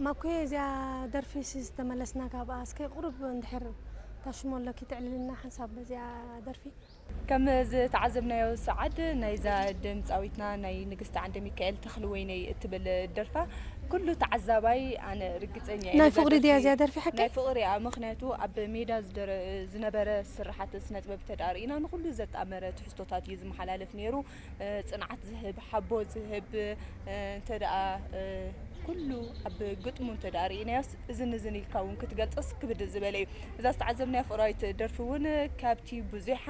ማኮ፣ እዚኣ ደርፊ ሲ ዝተመለስና ካብኣ፣ እስከ ቁሩብ እንድሕር ታሽሞ ኣለኪ ትዕልልና ሓንሳብ በዚኣ ደርፊ። ከም ዝተዓዘብናዮ ሰዓድ ናይዛ ድምፃዊትና ናይ ንግስቲ ዓንደ ሚካኤል ተኽልወይነይ እትብል ደርፋ ኩሉ ተዓዛባይ ኣነ ርግፀኛ እየ ናይ ነዛ ፍቕሪ ደርፊ ድያ እዚኣ ደርፊ ሓቂ? ናይ ፍቕሪ እያ። ምኽንያቱ ኣብ ሜዳ ዝደረ- ዝነበረ ስርሓት ስነ ጥበብ ተዳርኢና ንኩሉ ዘጣመረ ትሕዝቶታት እዩ ዝመሓላለፍ ነይሩ። እ፣ ጽንዓት ዝህብ፣ ሓቦ ዝህብ፣ እ፣ እንተ ደኣ፣ እ፣ ኩሉ ኣብ ግጥሙ እንተ ደኣ ርኢናዮስ እዝን እዝን ኢልካ እውን ክትገልጾስ ክብድ ዝበለ እዩ። እዛ ዝተዓዘብናያ ፍቕራዊት ደርፊ እውን ካብቲ ብዙሓ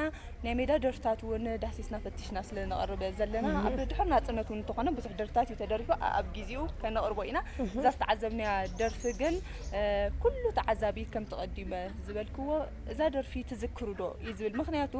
ናይ ሜዳ ደርፍታት እውን ዳህሲስና ፈቲሽና ስለ ነቕርብ ዘለና፣ ኣብ ድሕር ናጽነት እውን እንተኾነ ብዙሕ ደርፍታት እዩ ተደሪፉ፣ ኣ- ኣብ ግዜኡ ከነቕርቦ ኢና። እዛ ዝተዓዘብናያ ደርፊ ግን፣ እ፣ ኩሉ ተዓዛቢ ከምቲ ቀዲመ ዝበልክዎ፣ እዛ ደርፊ ትዝክሩ ዶ እዩ ዝብል። ምኽንያቱ፣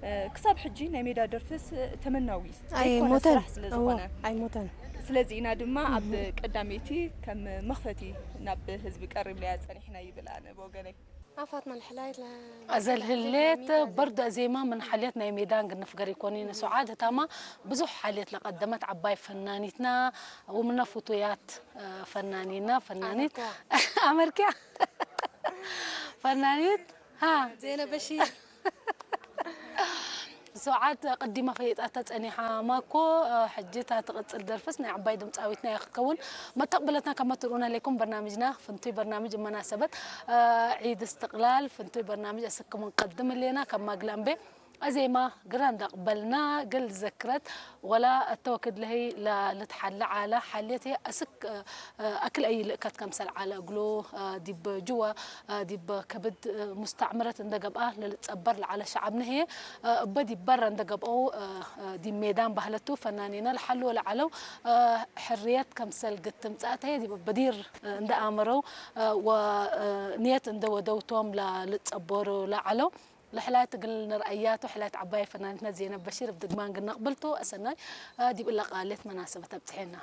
እ፣ ክሳብ ሕጂ ናይ ሜዳ ደርፍስ ተመናዊ ዘይኮነ ኣይሞተን። ስራሕ ስለ ዝኾነ። እዎ፣ ኣይሞተን። ስለዚ ኢና ድማ ኣብ ቀዳመይቲ ከም መኽፈቲ ናብ ህዝቢ ቀሪብናያ ጸኒሕና ይብል ኣነ ብወገነይ። ኣፋት ማን ሕላይት ለ- أزل هليت برد أزيما من حاليات ناي ميدان قد نفقر يكونين سعاد تاما بزح حاليات لقدمت عباي فنانيتنا ومن فوتويات آه، فنانينا فنانيت أمريكا فنانيت ها زينب بشير سعاد قديمة فيت أتا ጸኒሓ ማኮ ሕጂ እታ ትቕጽል ደርፍስ ናይ ዓባይ ድምጻዊትና እያ ክትከውን። መተቕበለትና ከመ ትርእዩና ኣለኩም በርናምጅና ፍንቱይ በርናምጅ መናሰበት ዒድ እስትቕላል ፍንቱይ በርናምጅ ኣስክሙ ንቀድም እሌና ካብ ማግላምቤ ኣዜማ ግራ እንዳቕበልና ገል ዝዘክረት ወላ እተወክድ ለህይ ልትሓለ ዓላ ሓልየት ኣስክ ኣክል ኣይልእከት ከምሰል ዓለ እግሉ ዲብ ጅወ ዲብ ከብድ ሙስተዕምረት እንደገብኣ ለልጸበር ለዓለ ሸዓብ ነህየ እበ ዲብ በረ እንደገብኦ ዲብ ሜዳን ባህለቱ ፈናኒነ ለሓልወ ለዓለው ሕርየት ከምሰል ግትም ጻእተየ ዲብ በዲር እንደኣመረው ወንየት እንደወደውቶም ለልጸበሩ ለዓለው ለሕላየት ግል ንርኣያቱ ሕላየት ዓባይ ፈናኒትና ዜነብ በሺር ብድግማን ግነቕብልቱ ኣሰናይ ዲብ እለቃሌት መናሰበት ኣብጽሐና።